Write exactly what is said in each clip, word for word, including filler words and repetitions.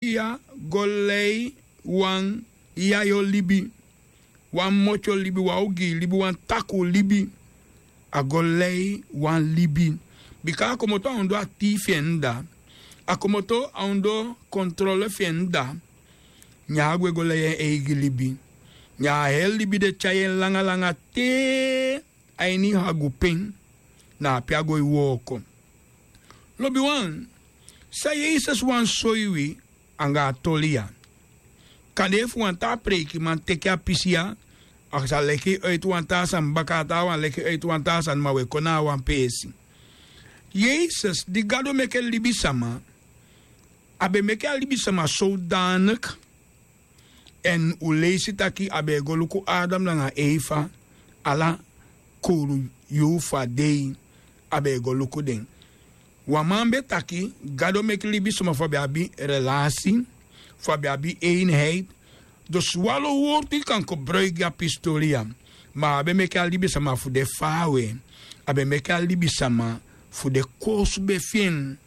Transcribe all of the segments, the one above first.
ya go lei wan yayo libi, wan motyo libi, wan ogii libi, wan takuu libi. A go lei wan libi. Bika a komoto a ondoo a tii fi en dda. A komoto a ondoo kontrole fi en dda. Ne a gwe go lei en eigi libi. Ne a heli libi de tyai en langa langa te a ini hagupen, na ape a go e wooko. Lobiwan, san Yesus wani soi wi anga a toli ya? Kande efu wan taa preikiman teke a pisi ya, a sa leki yu oiti wan taa sani baka, a taawan leki yu oiti wan taa sani, ma wi e kon na a wan peesi. Yesus di Gado meke libisama, a be meke a libisama sodanik. Èn un leisi taki a be e go luku Adam nanga Efa, ala kowru yuu fu a dei a be e go luku den. Wan man be taki Gado meki libisama fu a be abi relasi, fu a be abi einheit. Dus wan lo wortu yu kan kobroiki gi a pistoli ya. Ma a be meki a libisama fu de faawe. A be meki a libisama fu de koosube fi en,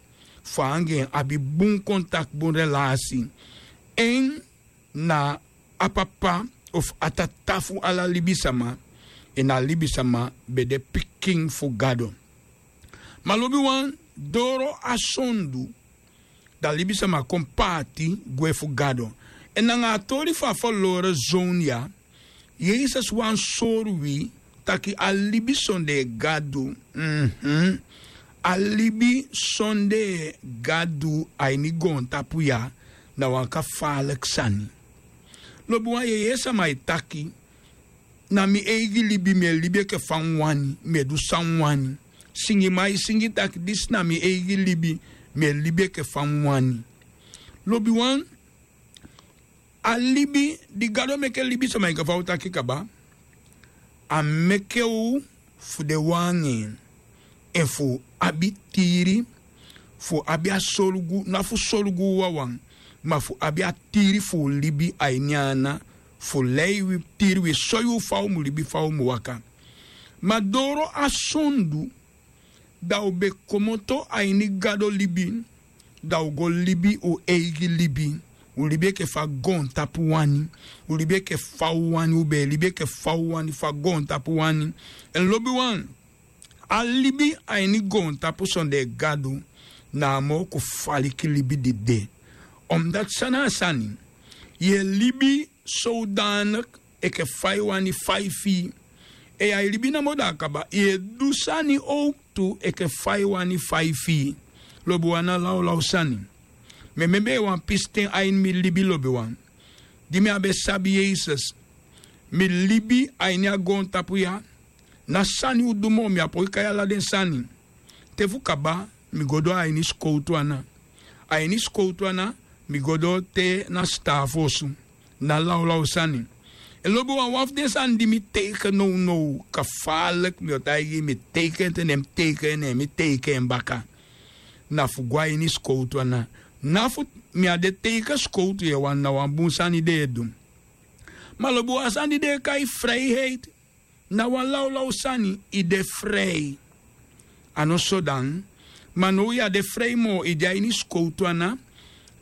fu a anga en abi bun kontakti, bun relasi. En na a papa ofu a tata fu ala libisama, en a libisama be de pikin fu Gado. Ma lobiwan, doro a sondu, da libisama kon paati gwe fu Gado. Èn nanga a toli fu a ferlore zoon ya, Yesus wani sori wi taki a libi sondee Gadu, mhm, a libi sondee Gadu a ini goontapu ya, na wan kafaaliki sani. Lobiwan, yu e yee sama e taki: Na mi eigi libi, mi e libi enke fa mi wani, mi e du san mi wani. Singiman e singi taki: Disi na mi eigi libi, mi e libi enke fa mi wani. Lobiwan, a libi di Gado meke libisama, enke fa u taki kaba, a meke u fu de wan anga en, en fu abi tiiri, fu abi a solugu, na fu solugu u wawan, ma fu abi a tiiri fu u libi a ini en ana, fu lei wi, tiiri wi, soi u fa u mu libi, fa u mu waka. Ma doro a sondu, da u be komoto a ini Gado libi, da u go libi u eigi libi. U libi enke fa goontapu wani. U libi enke fa u wani, u be e libi enke fa u wani, fa goontapu wani. Èn lobiwan, a libi a ini goontapu sondee Gadu na a moo kofaliki libi di de. Omdat san na a sani, yu e libi sodanik enke fa yu wani fa yu fii. Èn yu e libi namo, da a kaba, yu e du sani owktu enke fa yu wani fa yu fii. Lobiwan, na lawlaw sani. Mi e membe wan pisiten a ini mi libi, lobiwan. Di mi á be sabi Yesus, mi libi a ini a goontapu ya, na sani u du moo, mi á poi kai ala den sani. Te fu kaba, mi go doo a ini sikowtu ana. A ini sikowtu ana, mi go doo te na sitaafu osu. Na lawlaw sani. Èn lobiwan, wan fu den sani di mi teiken nownow, kafaaliki, mi o taigi yu, mi teiken en te, ne mi teiken en, ne mi teiken en baka. Na fu go a ini sikowtu ana. Na fu mi á de teiken sikowtu, yu e wani, na wan bun sani den e du. Ma lobiwan, a sani di den e kai freiheit, na wan lawlaw sani, i de frei. A no so dan. Ma now yu á de frei moo, i de a ini sikowtu ana,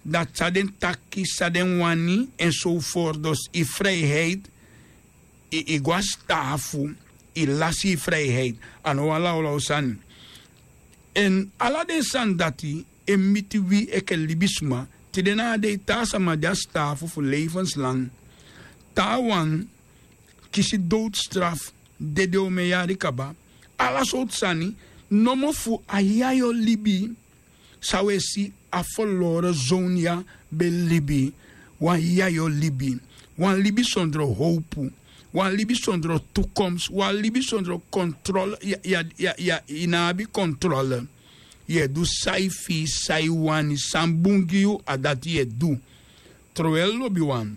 da san den taki, san den wani, enzovoort. Dus i freiheit, i, i go a sitaafu, i lasi i freiheit. A no wan lawlaw sani. Èn ala den sani dati e miti wi enke libisma. Tide na a dei taa sama de a sitaafu fu levenslang. Taawan kisi doodstraf, dede omen yari kaba. Ala sowtu sani, nomo fu a yayo libi san u e si a ferlore zoon ya be libi. Wan yayo libi. Wan libi sondro howpu. Wan libi sondro tukomsi. Wan libi sondro kontrole. Ya, ya, ya, ya, i ná abi kontrole. Yu e du san i fii, san i wani, san bun gi yu, a dati yu e du. Trowel, lobiwan,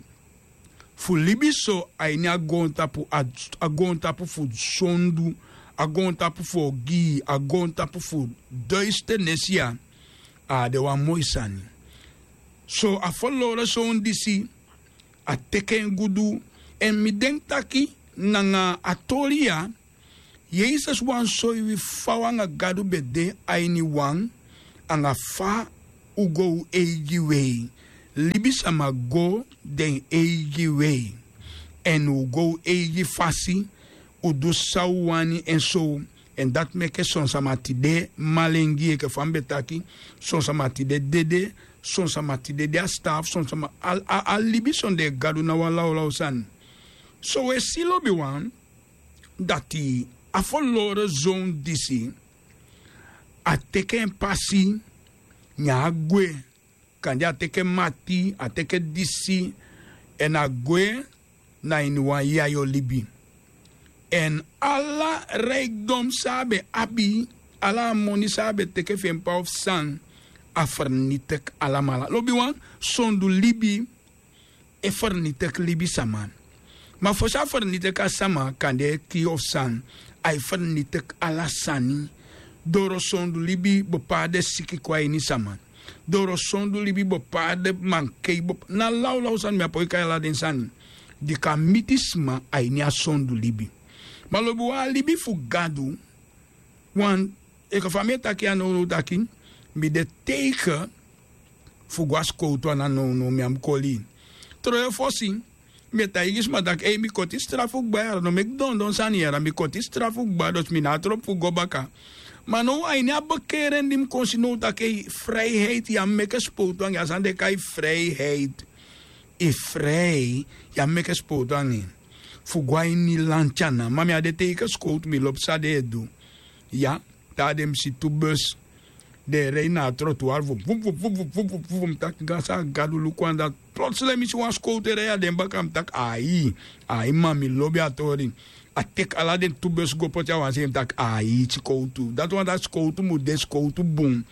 fu libi so a ini a goontapu, a, a goontapu fu sondu, a goontapu fu ogii, a goontapu fu duisternis ya, a á de wan moi sani. So a ferlore zoon disi, a teke en gudu. Èn mi denki taki nanga a toli ya, Yesus wani soi wi fa u anga Gadu be de a ini wan, anga fa u go u eigi wei. Libisama go den eigi wei, èn un go un eigi fasi, un du san un wani èn so. Èn dati meke son sama tide malengi enke fa mi be taki. Son sama tide dede. Son sama tide de a staafu. Son sama a libi sondee gadu na wan lawlaw sani. So un e si lobiwan, dati a foloro zon disi a teke en pasi, ne a gwe. Kande a teke mati, a teke disi, èn a gwe na ini wan yayo libi. Èn ala rijkdom san a be abi, ala a moni san a be teke fu en p'pa ofu san, a fernitik alamala. Lobiwan, sondu libi e fernitik libisama. Ma fosi a fernitik a sama, kande e kii ofu san, a e fernitik ala sani. Doro sondu libi bepaalde siki kon a ini sama. Doro sondu libi bepaalde mankei, na lawlaw sani, mi á poi kai ala den sani di kan miti sma a ini a sondu libi. Ma lobiwan, a libi fu Gadu, wan, enke fa mi e taki ya nownow taki, mi de teige fu go a sikowtu ana nownow, mi á mu koli. Tron e fosi mi e taigi sma taki ei, mi koti strafu kba yara, no meki dondon sani yara, mi koti strafu kba, dus mi no abi tropu fu go baka. Ma now a ini a bekeren di mi kon si now taki ei, frijheid, yu á mu meke sikowtu anga en, a sani den e kai frijheid. Yu fri, yu á mu meke sikowtu anga en fu go a ini lanti ana. Ma mi á de teige sikowtu, mi lobi san den e du. Ya, taa dei mi si tu bus, den e rei na a trotuar fu vup vup vup vup vup vup vup. Mi taki gansa Gadu, luku anda. Plotseling mi si wan sikowtu e rei a den baka, mi taki ai, ai, ma mi lobi a tori. A teki ala den tu bus go poti a wan sei, mi taki ai, sikowtu. Dati wani taki sikowtu mu de sikowtu bun.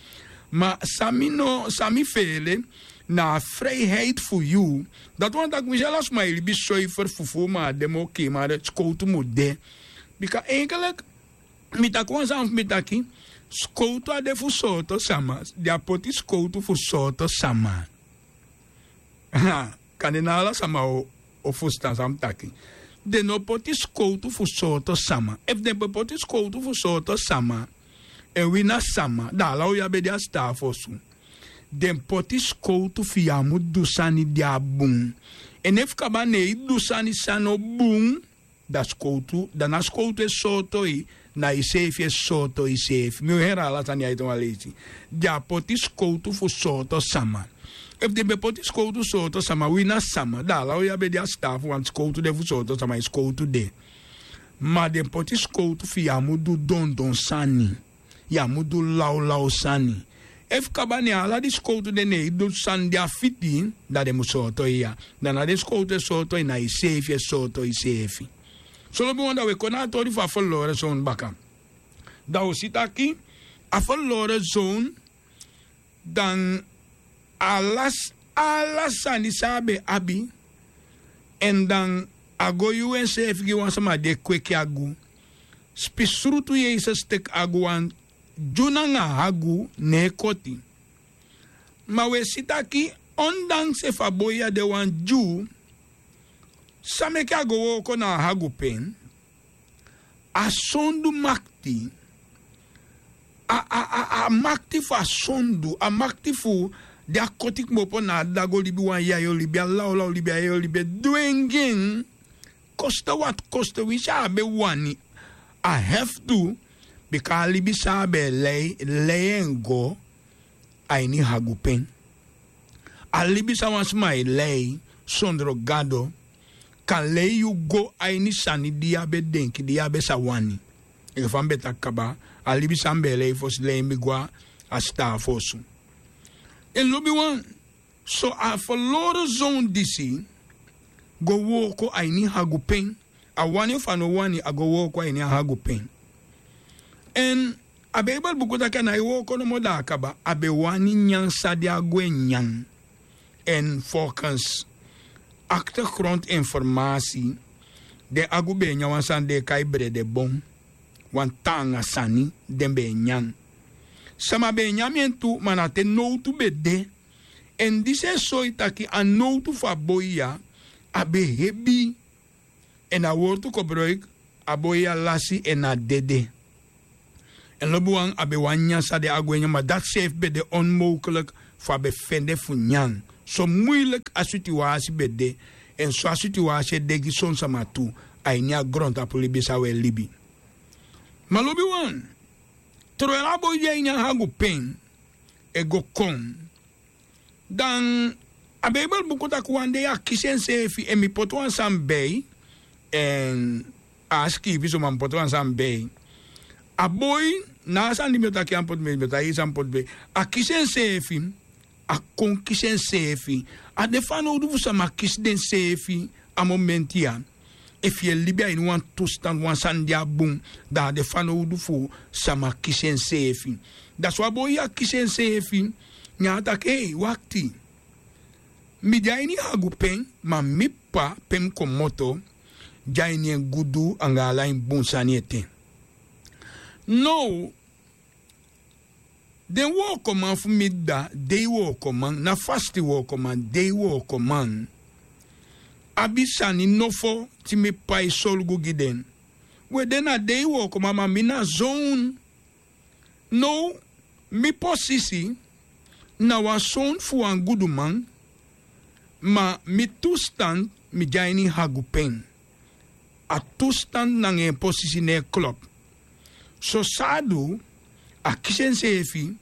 Ma san mi no, san mi feele na a frijheid fu yu. Dati wani taki winsi ala sma e libi soiferi fufuu, ma a de moo kii, ma sikowtu mu de. Bika enkelek mi taki wan sani fu mi taki, sikowtu á de fu sooto sama. Den á poti sikowtu fu sooto sama. Kande na ala sama o fusutan san mi taki. Den no poti sikowtu fu sooto sama. Efu den ben poti sikowtu fu sooto sama, èn wi na sama, da ala un ya be de a sitaafu osu. Den poti sikowtu fu yu á mu du sani di á bun. Èn efu kaba ne yu du sani san no bun, da sikowtu, da na sikowtu e sooto yu, na yuseefi e sooto yuseefi. Mi o heri ala sani ya ete wan leisi. Den á poti sikowtu fu sooto sama. Efu den ben poti sikowtu sooto sama, wi na sama, da ala un ya be de a sitaafu, want sikowtu de fu sooto sama, yu sikowtu de. Ma den poti sikowtu fu yu á mu du dondon sani. Yu á mu du lawlaw sani. Efu kaba ne ala di sikowtu de ne yu du sani di a fiti, da den mu sooto yu ya. Da na den sikowtu e sooto yu, na yuseefi e sooto yuseefi. So lobiwan, da un e kon na a tori fu a ferloren zoon baka. Da un si taki a ferloren zoon, dan ala, ala sani san a be abi, èn dan a go yuu enseefi gi wan sama di e kweki agu. Spisrutu Yesus teki agu, wan dyu nanga agu ne e koti. Ma un e si taki, ondanks efu a boi ya de wan dyu, san meke a go wooko na a agu pen? A sondu makti, a, a, a, a makti fu a sondu, a makti fu di a koti kmopo na a dda go libi wan yayo libi, a lawlaw libi, a yayo libi e dwengi en. Koste wati koste, winsi a á be wani, a hefu du, bika a libi san a be e lei, lei en go a ini agu pen. A libi san wan sma e lei sondro Gado kan lei yu go a ini sani di yu á be denki, di yu á be sa wani. Enke fa mi be taki kaba, a libi san mi be e lei fosi lei mi go a sitaafu osu. Èn lobiwan, so a ferloren zoon disi go wooko a ini agu pen. A wani ofu a no wani, a go wooko a ini a agu pen. Èn a Beibel buku taki a nái wooko nomo, da a kaba. A be wani nyan san di agu e nyan. Èn volgens achtergrondinformatie, den agu be e nyan wan sani den e kai bredebon, wan taanga sani den be e nyan. Sama be e nyan en tu, ma na te nowtu be de. Èn disi e soi taki a nowtu fu a boi ya, a be hebi. Èn a wortu kobroiki, a boi ya lasi èn a dede. Èn lobiwan, a be wani nyan san den agu e nyan, ma dati seefi be de onmogelijk fu a be fende fu nyan. So muiliki a situasi ben de, èn so a situasi e de gi son sama tu a ini a grontapu libi san un e libi. Ma lobiwan, troyel a boi de a ini a hagu pen e go kon, dan a beibel buku taki wan dei a kisi enseefi èn mi poti wan sani bei. Èn a sikiifi so ma mi poti wan sani bei. A boi, na a sani di mi o taki ya mi poti bei mi o taki san mi poti bei. A kisi enseefi, a kon kisi enseefi. A de fanowdu fu sama kisi denseefi. A momenti ya, efu yu e libi a ini wan tustan wan sani di a bun, dan a de fanowdu fu sama kisi enseefi. Dati wan boi ya kisi enseefi. Ne a taki ei wakti, mi de a ini hagu pen, ma mi p'pa pe mi komoto de a ini en gudu anga ala en bun sani ete. Now, den wookoman fu mi dda, dei wookoman na fasti wookoman, dei wookoman abi sani nofo, te mi p'pa e solugu gi den. We den na dei wookoman ma mi na zown. Now, mi posisi na wan sown fu wan guduman, ma mi tustan mi de a ini hagu pen. A tustan nanga en posisi no e klop. So san a du, a kisi enseefi.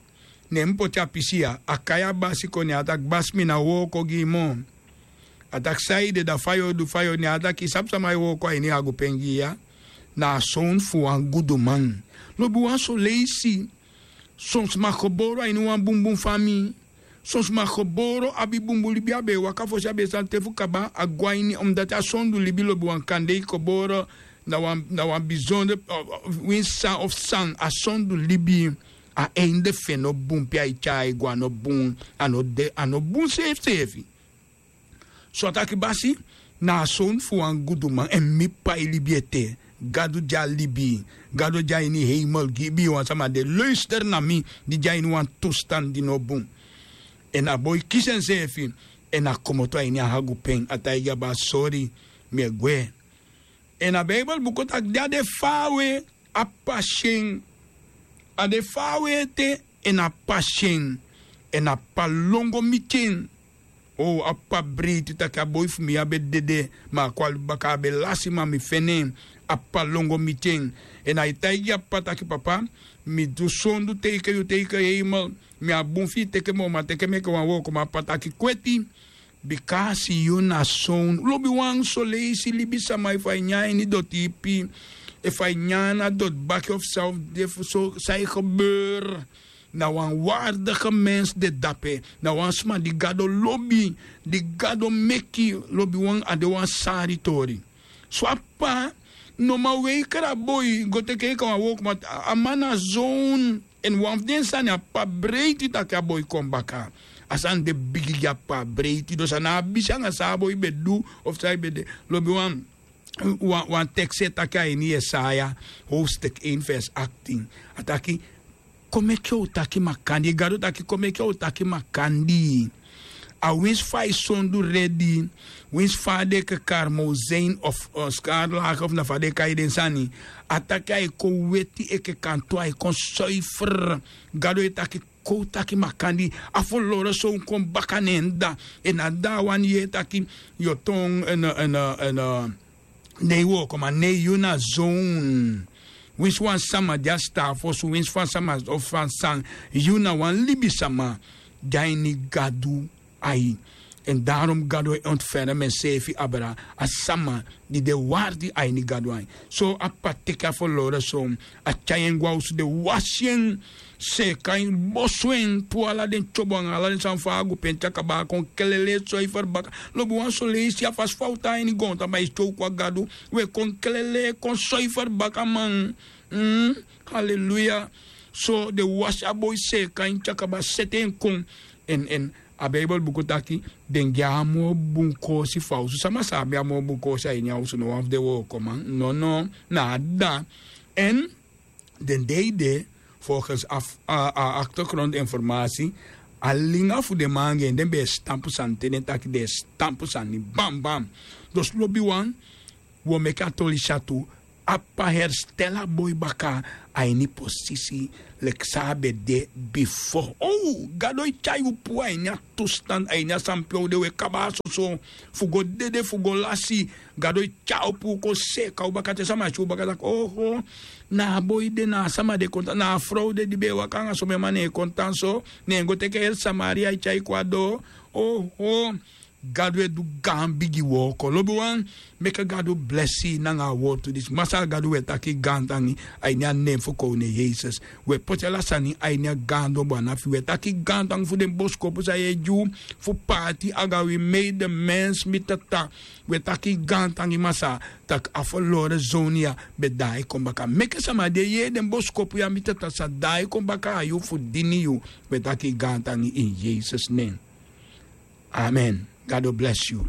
Ne mi poti a pisi ya, a kai a basi kon ne a taki basi mi na wooko gi yu moo. A taki san yu de da fa yu o du fa yu o ne a taki yu sabi sama e wooko a ini hagu pen gi yu ya? Na a sown fu wan guduman. Lobiwan soleisi, son sma geboro a ini wan bunbun famii. Son sma geboro abi bunbun libi a be e waka fosi a be e sani te fu kaba a go a ini omdati a sondu libi lobiwan kande yu geboro na wan bizondre winsi san of san a sondu libi. A einde fu en no bun pe a e tyai go a no bun. A no bun seefiseefi. So a taki basi, na a sown fu wan guduman èn mi p'pa e libi ete. Gadu di a libi, gadu di a ini heimel gi ibi wan sama de luister na mi, di de a ini wan tustan di no bun. Èn a boi kisi enseefi èn a komoto a ini a hagu pen a taigi a basi sori, mi e gwe. Èn a beibel buku taki di a de faawe, a p'pa si en. A de faawe ete, èn a p'pa si en. Èn a p'pa lon go miti en. O a p'pa breiti taki a boi fu mi ya be dede, ma a kon a libi baka a be lasi ma mi feni en. A p'pa lon go miti en. Èn a e taigi a p'pa taki papa, mi du sondu teike yu teike heimel. Mi abi bun fu yu teke moo ma teke mi enke wan wookoman a p'pa taki kweti. Bika a si yu na sown lobiwan soleisi libisama efu a e nyan a ini doti ipi, efu a e nyan a doti baki ofu san ofu de fu so san e gebeur. Na wan wardige mens de dape. Na wan sma di gado lobi, di gado meki. Lobiwan a de wan sari tori. So a p'pa no man weikra boi go teke enke wan wooko ma a man na zown. Èn wan fu den sani a p'pa breiti taki a boi kon baka. A sani de bigi gi a p'pa a breiti dosi a na a bisi anga san a boi be du. Ofu san a be de lobi wan wan teksi e taki a ini yesaya howstek en vers aktin. A taki, kon meke un taki makandii gado taki kon meke un taki makandii. A winsi fa a e sondu redi, winsi fa a de enke karmozin of skarlage of na fa den e kai den sani. A taki a e kon weti enke kantu a e kon soifre. Gado e taki kon un taki makandii. A foloro son kon baka na en dda. Èn a dda a wani yee taki yu o ton nei wookoman nei yu na zown. Winsi wan sama di a sitaafu osu winsi wan sama ofu wan san, yu na wan libisama di a ini gadu ai. Èn darom gado e ontferem enseefi abra a sama di de wardi a ini gado ai. So a p'pa teke a foloro son, a tyai en go a osu den wasi en, seeka en, bosu en, puu ala den tyobo anga ala den sani fu a agu penti a kaba a kon kelele e soiferi baka. Lobi wan soleisi a fasi fa un tan a ini goontapu ma e si te un kon a gadu, un e kon kelele kon soiferi baka man. Haleluya. So den wasi a boi seeka en te a kaba sete en kon. Èn èn a beibel buku taki den gi en a moo bun koosi fu a osu sama sa abi a moo bun koosi a ini a osu no wan fu den wookoman nono, na a dda. Èn den dei de folgens a aktergrontu informasi, a linga fu den man anga en den be e sitampu sani te den taki den e sitampu sani bambam. Dus lobiwan, wi o meke a toli si a tu. a p'pa herstel a boi baka a ini posisi leki san a be de bifo. Gado e tyai yu puu a ini a tustan a ini a san pe un de. Un e kaba a soso fu go dede fu go lasi. Gado e tyai u puu kon seeka u baka te sama e si u baka taki oho, na a boi de na a sama de kon tan na a frow de di be e waka anga somen man ne en kon tan so, ne en go teke heri samaria e tyai kon a doo. Oho. Gadu e du gaan bigi wooko lobiwan. Meke gadu blesi yu nanga a wortu disi masaa gadu wi e taki gaantangi. A ini a nen fu kownu en yesus. Wi e poti ala sani a ini a gaandon bwana fi wi e taki gaantangi fu den boskopu san yu e gi unu fu paati anga wi mei den mens mi tata. Wi e taki gaantangi masaa, tak' a folore zownu ya ben daai kon baka meke sama di e yee den boskopu ya mi tata sa daai kon baka na yu fu dini yu. Wi e taki gaantangi ini yesus nen. Amen. Gado blesi yu.